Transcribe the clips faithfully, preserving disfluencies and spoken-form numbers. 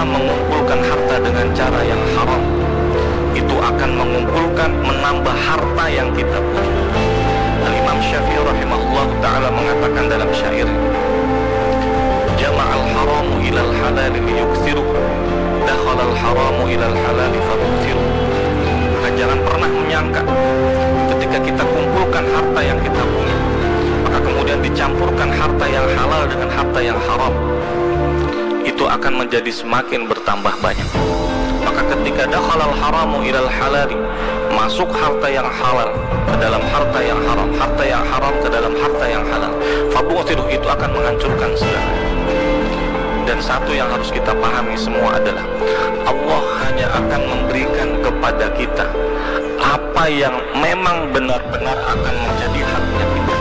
mengumpulkan harta dengan cara yang haram, itu akan mengumpulkan, menambah harta yang kita punya. Al-Imam Syafi'i rahimahullah ta'ala mengatakan dalam syair, "Jama'al haramu ilal halali liyuksiru, dakhalal haramu ilal halali famuksiru." Maka jangan pernah menyangka ketika kita kumpulkan harta yang kita punya, maka kemudian dicampurkan harta yang halal dengan harta yang haram, itu akan menjadi semakin bertambah banyak. Maka ketika dakhalal haramu ilal halali, masuk harta yang halal ke dalam harta yang haram, harta yang haram ke dalam harta yang halal, fabu'thiru, itu akan menghancurkan segala. Dan satu yang harus kita pahami semua adalah Allah hanya akan memberikan kepada kita apa yang memang benar-benar akan menjadi haknya kita.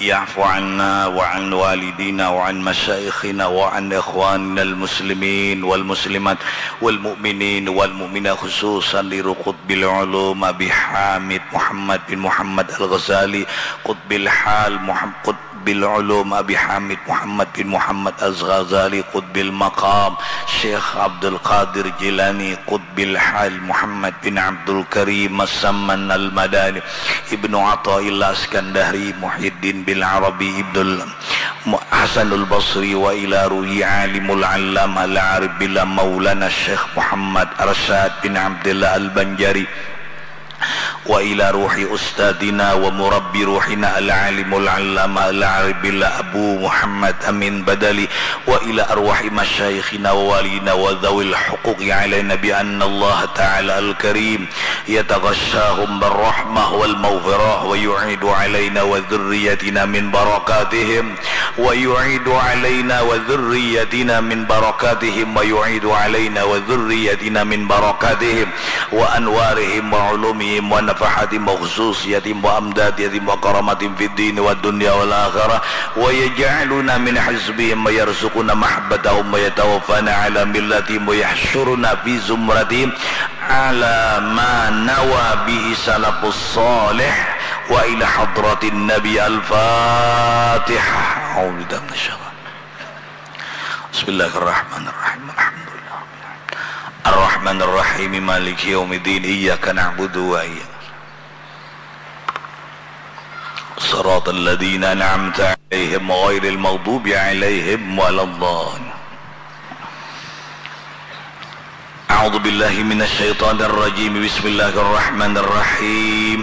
يعفو عنا وعن والدينا وعن مشايخنا وعن إخواننا المسلمين والمسلمات والمؤمنين والمؤمنات، خصوصا لقطب العلوم أبي حامد محمد بن محمد الغزالي، قطب الحال محمد، قطب العلوم أبي حامد محمد بن محمد الغزالي، قطب المقام شيخ عبد القادر جيلاني، قطب الحال محمد بن عبد الكريم السمن المدني، ابن عطاء الله الاسكندري، محي الدين بن عربي، ابن الحسن البصري، وإلى روح عالم العلامة العارف بالله مولانا الشيخ محمد رشاد بن عبد الله البنجاري، وإلى روح أستاذنا ومربي روحنا العالم العلامة العارف بالله أبو محمد أمين بدلي، وإلى أرواح مشايخنا ووالينا وذوي الحقوق علينا بأن الله تعالى الكريم يتغشاهم بالرحمة والمغفرة ويعيد علينا وذريتنا من بركاتهم، ويعيد علينا وذريتنا من بركاتهم، ويعيد علينا وذريتنا من بركاتهم وأنوارهم وعلومهم ونفحاتهم وخصوصياتهم وأمداداتهم وكراماتهم في الدين والدنيا والآخرة، ويجعلنا من حزبهم ويرزقنا محبتهم ويتوفانا على ملتهم ويحشرنا في زمرتهم على ما نوى به سلف الصالح وإلى حضرة النبي. الفاتحة. أعوذ بالله من الشيطان. بسم الله الرحمن الرحيم. الحمد لله رب العالمين. الرحمن الرحيم. مالك يوم الدين. إياك نعبد وإياك صراط الذين أنعمت عليهم غير المغضوب عليهم ولا الضالين. أعوذ بالله من الشيطان الرجيم. بسم الله الرحمن الرحيم.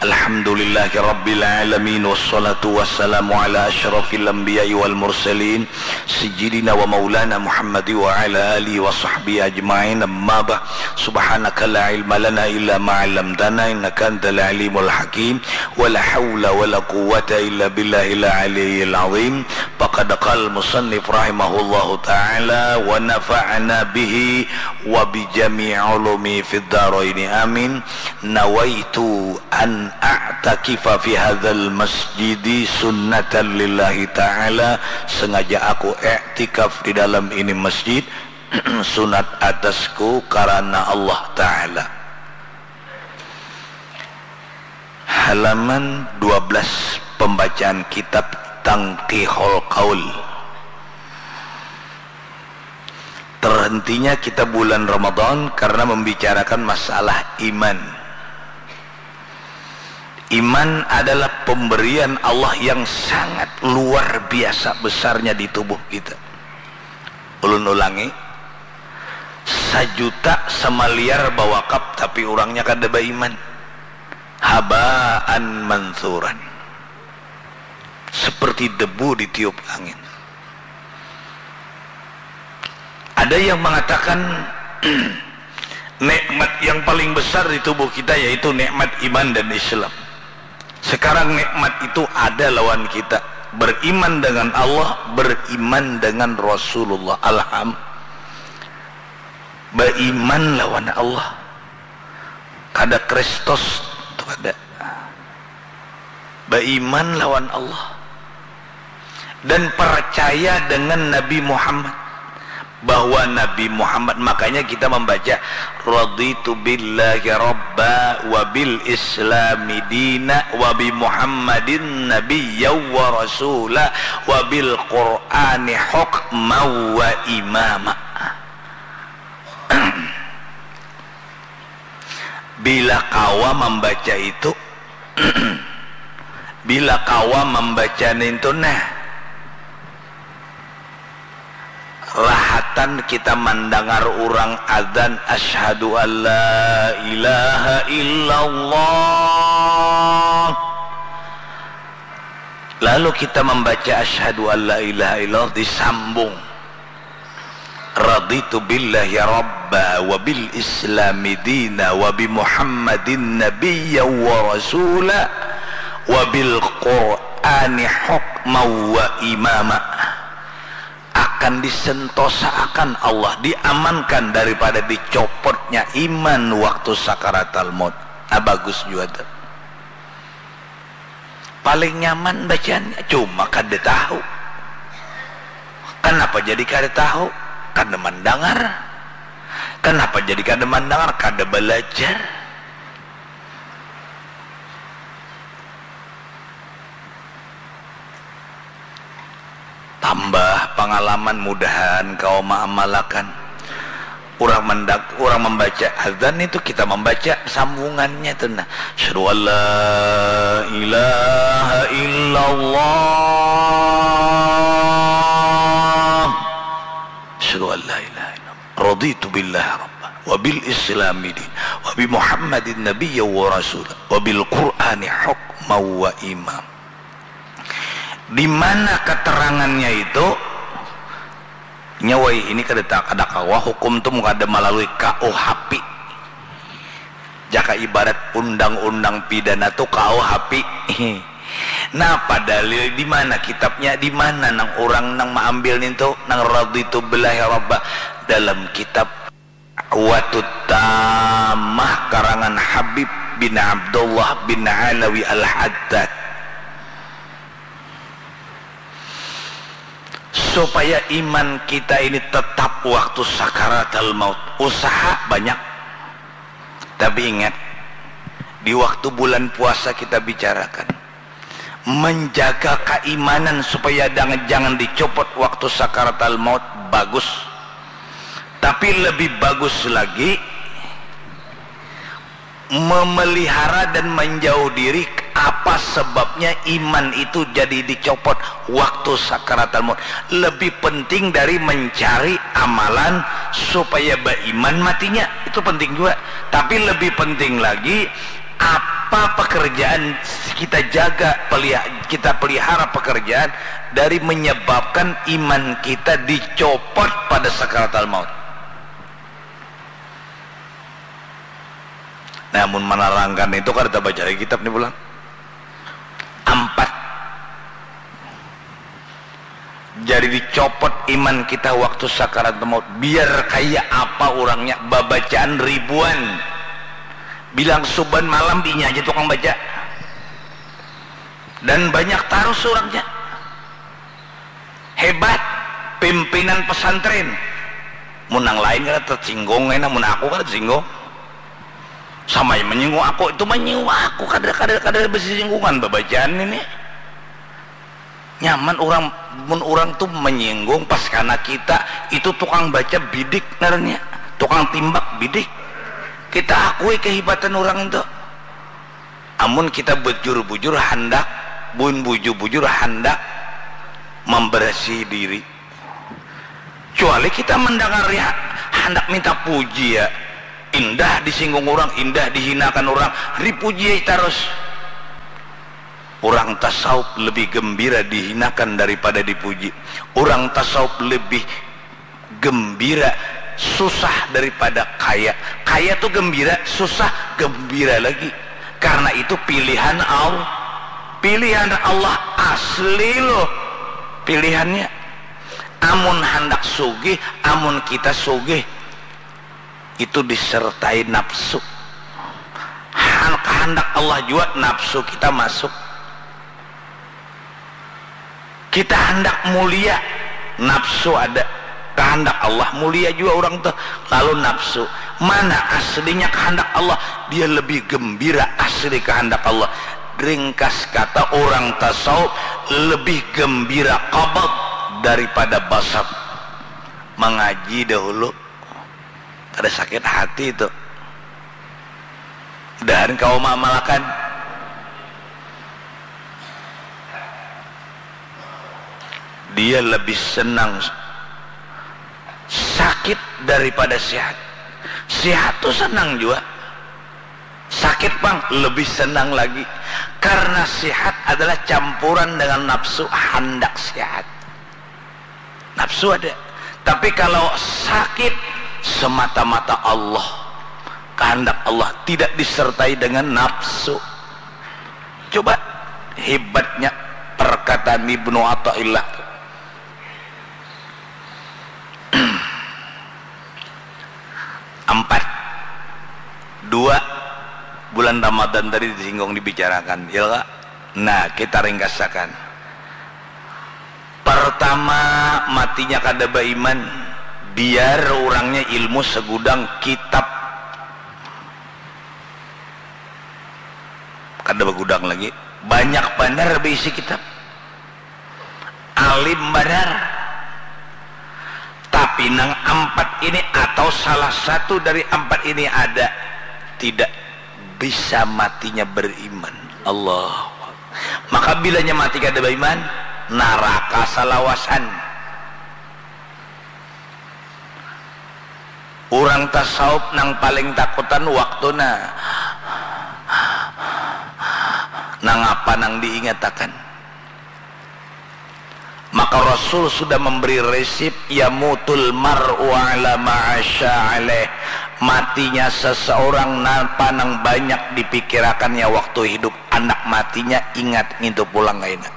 الحمد لله رب العالمين، والصلاة والسلام على أشرف الأنبياء والمرسلين، سيدنا ومولانا محمد وعلى آله وصحبه أجمعين. أما بعد، سبحانك لا علم لنا إلا ما علمتنا إنك أنت العليم الحكيم. ولا حول ولا قوة إلا بالله العلي العظيم. فقد قال المصنف رحمه الله تعالى ونفعنا به وبجميع علومه في الدارين آمين. نويت أن أعتكف في هذا المسجد سنة لله تعالى. Sengaja aku iktikaf di dalam ini masjid, sunat atasku karena Allah Ta'ala. Halaman dua belas, pembacaan kitab Tanqihul Qaul. Terhentinya kita bulan Ramadan karena membicarakan masalah iman. Iman adalah pemberian Allah yang sangat luar biasa besarnya di tubuh kita. Ulun ulangi, sajuta samaliar bawakaf tapi urangnya kada baiman. Habaan mansuran. Seperti debu ditiup angin. Ada yang mengatakan nikmat yang paling besar di tubuh kita yaitu nikmat iman dan Islam. Sekarang nikmat itu ada lawan kita. Beriman dengan Allah, beriman dengan Rasulullah. Alham. Beriman lawan Allah. Kada Kristus tu kada. Beriman lawan Allah. Dan percaya dengan Nabi Muhammad. bahwa Nabi Muhammad, makanya kita membaca, "Raditu billahi rabba wa bil islami dina wa bi Muhammadin nabiyya wa rasula wa bil Qur'ani hukma wa imama." Bila kawa membaca itu, bila kawa membaca nintu, nah, rahatan kita mandangar urang adzan, "Asyhadu an la ilaha illallah." Lalu kita membaca, "Asyhadu an la ilaha illallah," disambung, "Raditu billahi rabba wa bil islami dina wa bi Muhammadin nabiyya wa rasula wa bil Qur'ani hukma wa imama." Akan disentosaakan Allah, diamankan daripada dicopotnya iman waktu sakaratal maut. Nah, bagus jua tu. Paling nyaman bacanya, cuma kada tahu. Kanapa jadi kada tahu? Kada mandangar. Kanapa jadi kada mandangar? Kada balajar. Tambah pangalaman, mudahan kawa maamalakan. Urang mandak-, urang mambaca adzan itu kita mambaca sambungannya tu nah. Asyhadu an la ilaha illallah. Asyhadu an la ilaha illallah. Raditu billahi rabba wa bil islami din wa bi Muhammadin nabiyya wa rasula wa bil Qur'ani hukma wa imam. Di mana keterangannya itu? Nyawai ini kada ta-, kada kawa hukum tu mun kada melalui K U H P. Jaka ibarat undang-undang pidana tu K U H P. Nah, padalil di mana kitabnya? Di mana nang urang nang maambil nintu? Nang raditu billahi rabba dalam kitab Da'watut Tammah karangan Habib bin Abdullah bin Alawi Al-Haddad. Supaya iman kita ini tetap waktu sakaratal maut, usaha banyak. Tapi ingat, di waktu bulan puasa kita bicarakan, menjaga kaimanan supaya dang-, jangan dicopot waktu sakaratal maut bagus. Tapi lebih bagus lagi memelihara dan menjauh diri apa sebabnya iman itu jadi dicopot waktu sakaratal maut. Lebih penting dari mencari amalan supaya beriman matinya. Itu penting juga. Tapi lebih penting lagi apa pekerjaan kita jaga, pelia-, kita pelihara pekerjaan dari menyebabkan iman kita dicopot pada sakaratal maut. Namun menerangkan itu kada terbaca lagi kitab ni pulang. Ampat. Jadi dicopot iman kita waktu sakaratul maut. Biar kaya apa urangnya, babacaan ribuan. Bilang suban malam inya aja tukang baca. Dan banyak tarus urangnya. Hebat, pimpinan pesantren. Mun nang lain kada tersinggung, kena mun aku kada tersinggung. Sama yang menyinggung aku, itu menyinggung aku, kada, kada, kada bersinggungan babacaan ini. Nyaman urang, mun urang tu menyinggung pas kana kita, itu tukang baca bidik ngarannya, tukang timbak bidik. Kita akui kehebatan urang itu. Amun kita bujur-bujur handak, bun bujur-bujur handak membersihi diri. Cuali kita mendengar ya, handak minta puji ya. Indah disinggung orang, indah dihinakan orang, dipuji ya terus. Orang tasawuf lebih gembira dihinakan daripada dipuji. Orang tasawuf lebih gembira susah daripada kaya. Kaya tu gembira, susah gembira lagi. Karena itu pilihan Allah. Pilihan Allah asli loh pilihannya. Amun handak sugih, amun kita sugih, itu disertai nafsu. Han-, kehendak Allah jua nafsu kita masuk. Kita handak mulia, nafsu ada. Kahandak Allah mulia jua urang tuh. Lalu nafsu, mana aslinya kahandak Allah? Dia lebih gembira asli kahandak Allah. Ringkas kata, urang tasawuf lebih gembira qabad daripada basat. Mangaji dahulu kada sakit hati tuh. Mudahan kawa maamalakan. Dia lebih senang sakit daripada sihat. Sihat tuh senang jua. Sakit pang lebih senang lagi. Karena sihat adalah campuran dengan nafsu handak sihat. Nafsu ada. Tapi kalau sakit, semata-mata Allah. Kahandak Allah tidak disertai dengan nafsu. Coba hebatnya perkataan Ibnu Athaillah. Ampat. Dua, bulan Ramadan tadi disinggung, dibicarakan, ya kak? Nah, kita ringkasakan. Pertama, matinya kada baiman, biar urangnya ilmu segudang kitab kada begudang lagi, banyak banar beisi kitab, alim banar. Tapi nang ampat ini atau salah satu dari ampat ini ada, tidak bisa matinya beriman. Allah. Maka bilanya mati kada beriman, naraka salawasan. Urang tasawuf nang paling takutan waktu na nangapa nang diingatakan. Maka Rasul sudah memberi resep, "Yamutul mar'u ala ma'asya alaih." Matinya seseorang napa nang banyak dipikirakannya waktu hidup, anak matinya ingat ngintu pulang kaina.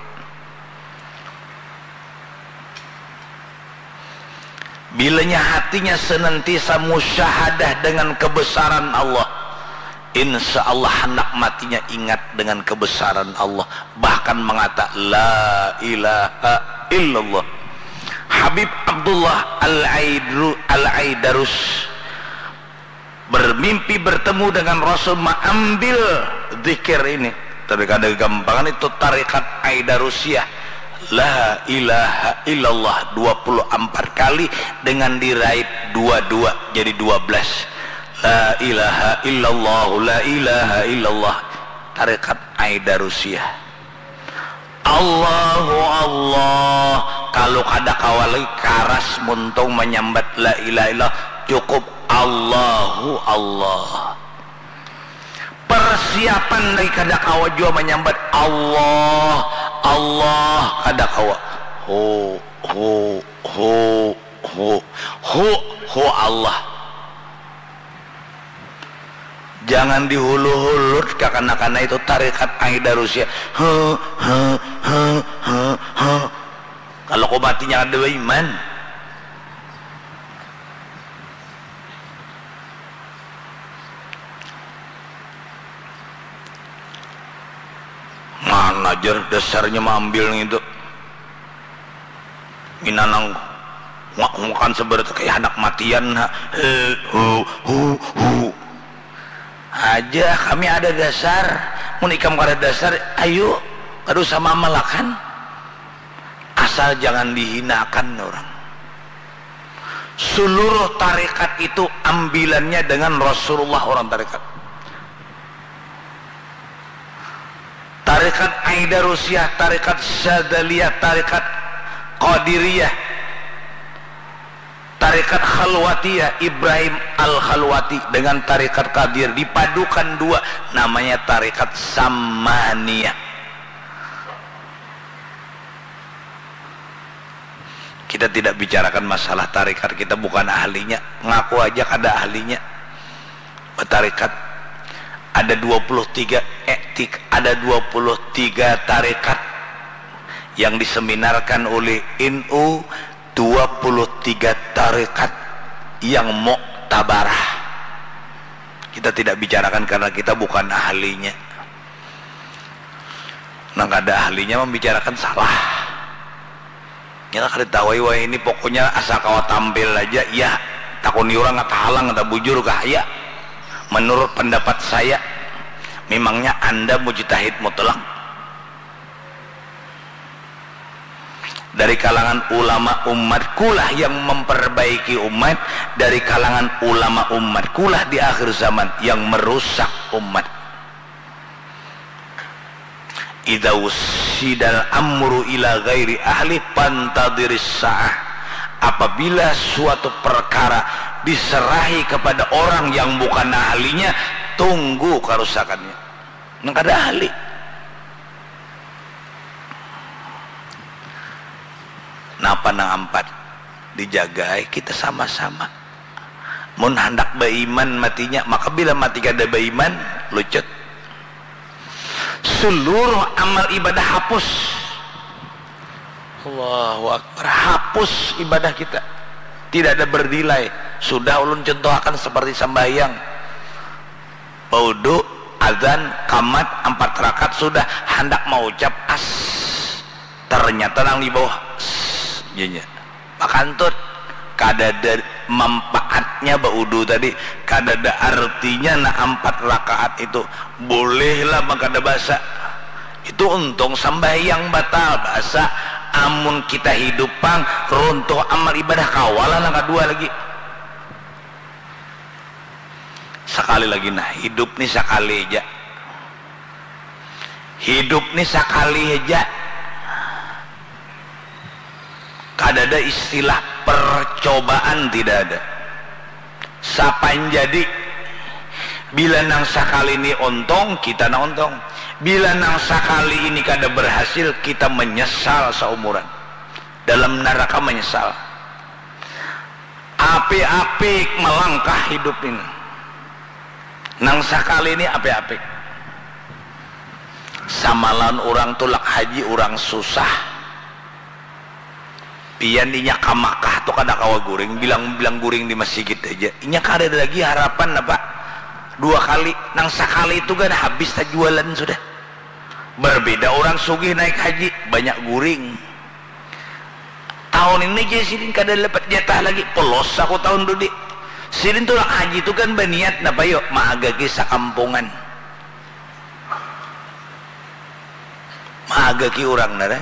Bilanya hatinya senantiasa musyahadah dengan kebesaran Allah, insya Allah handak matinya ingat dengan kebesaran Allah, bahkan mengata, "La ilaha illallah." Habib Abdullah Al-Aidru-, Al-Aidarus bermimpi bertemu dengan Rasul, maambil zikir ini. Tapi kada gampangan itu tarikat Aidarusiah. La ilaha illallah dua puluh ampat kali dengan dirait dua dua jadi dua belas. La ilaha illallah, la ilaha illallah. Tarikat Aidarusiah. Allahu Allah, kalu kada kawa lagi karas muntung manyambat la ilaha illallah, cukup Allahu Allah. Persiapan lagi kada kawa jua manyambat Allah, Allah, kada kawa. Hu, hu, hu, hu, hu, hu Allah. Jangan dihulu-hulut kakanakan itu tarikat Aidarusiah. He, he, he, he, he. Kalau kau matinya kada baiman. Mana jar dasarnya maambil ngitu. Minanang ngak-, ngakan seberat kayak anak matian, ha. He, hu, hu, hu. Aja, kami ada dasar. Mun ikam kada dasar, ayu, kada usah mamalakan. Asal jangan dihinakan orang. Seluruh tarekat itu ambilannya dengan Rasulullah orang tarekat. Tarekat Aidarusiah, tarekat Syadzaliyah, tarekat Qadiriyah, tarekat Khalwatiyah, Ibrahim Al-Khalwati dengan tarekat Qadir dipadukan dua, namanya tarekat Samaniyah. Kita tidak bicarakan masalah tarekat, kita bukan ahlinya. Ngaku aja kada ahlinya. Bertarekat. Ada dua puluh tiga etik, ada dua puluh tiga tarekat yang diseminarkan oleh N U, dua puluh tiga tarekat yang muktabarah. Kita tidak bicarakan karena kita bukan ahlinya. Nang kada ahlinya membicarakan salah. Nya kada tahu ai wahini, pokoknya asal kawa tampil aja. Ya, takuni urang, kah tahalang, kah tabujur kah? Ya, menurut pendapat saya, memangnya anda mujtahid mutlak. Dari kalangan ulama umatkulah yang memperbaiki umat, dari kalangan ulama umatkulah di akhir zaman yang merusak umat. Idza ussidal amru ila ghairi ahli fantadhiris sa'ah. Apabila suatu perkara diserahi kepada orang yang bukan ahlinya, tunggu kerusakannya. Nang kada ahli. Napa nang ampat? Dijagai kita sama-sama. Mun handak baiman matinya, maka bila mati kada baiman, lucut. Seluruh amal ibadah hapus. Allahu Akbar. Hapus ibadah kita. Tidak ada bernilai. Sudah ulun contohakan seperti sambahyang. Baudu, adzan, kamat, ampat rakaat, sudah handak maucap as. Ternyata nang di bawah, s, janya. Bakantut. Kadada manfaatnya baudu tadi, kadada artinya nah ampat rakaat itu. Bolehlah mangkada basa. Itu untung sambahyang batal basa. Amun kita hidup pang, runtuh amal ibadah, kawalah nang kadua lagi. Sakali lagi nah, hidup ni sakali haja. Hidup ni sakali haja. Kadada istilah percobaan, tidak ada. Sapan jadi, bila nang sakali ni untung, kita nang untung. Bila nang sakali ini kada berhasil, kita menyesal saumuran. Dalam neraka menyesal. Apik-apik melangkah hidup ini. Nang sakali ni apik-apik. Sama lawan urang tulak haji, urang susah. Pian inya ka Makkah tu kada kawa guring, bilang-bilang guring di masigit haja. Inya kadada lagi harapan apa dua kali. Nang sakali tu kan habis tajualan sudah. Berbeda urang sugih naik haji, banyak guring. Tahun ini ja sidin kada dapat jatah lagi, polos aku tahun tu di. Sidin tulak haji tu kan baniat napa yo, maagaki sakampungan. Maagaki urang nara.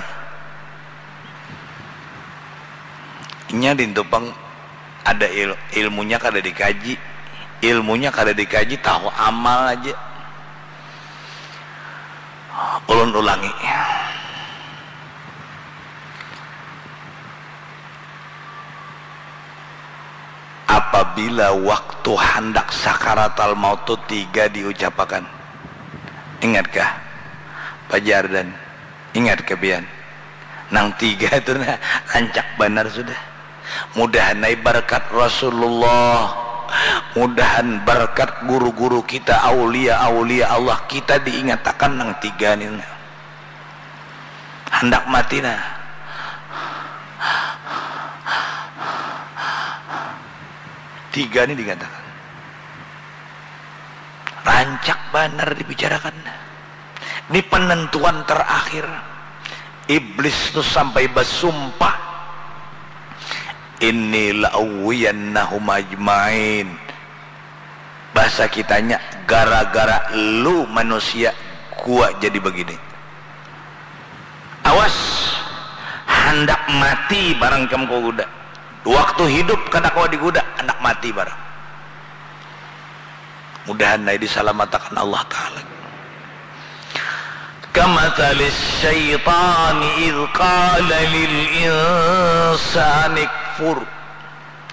Inya dintu pang ada il-, ilmunya kada dikaji. Ilmunya kada dikaji, tahu amal aja. Ulun ulangi. Apabila waktu handak sakaratal maut tu tiga diucapakan. Ingatkah? Pajar dan ingatkah pian? Nang tiga tu nah, rancak banar sudah. Mudahan ai barkat Rasulullah, mudahan barkat guru-guru kita, aulia-aulia Allah, kita diingatakan nang tiga ni. Handak mati nah. Tiga ni diingatakan. Rancak banar dibicarakan. Ini penentuan terakhir. Iblis tu sampai basumpah, "Inni la'ughwiyannahum ajmain." Bahasa kitanya, gara-gara lu manusia gua jadi begini. Awas, handak mati barang kam kawa guda. Waktu hidup kada kawa diguda, handak mati barang. Mudahan ai disalamatakan Allah Ta'ala. Kamathalis syaitani idh qala lil insani kfur.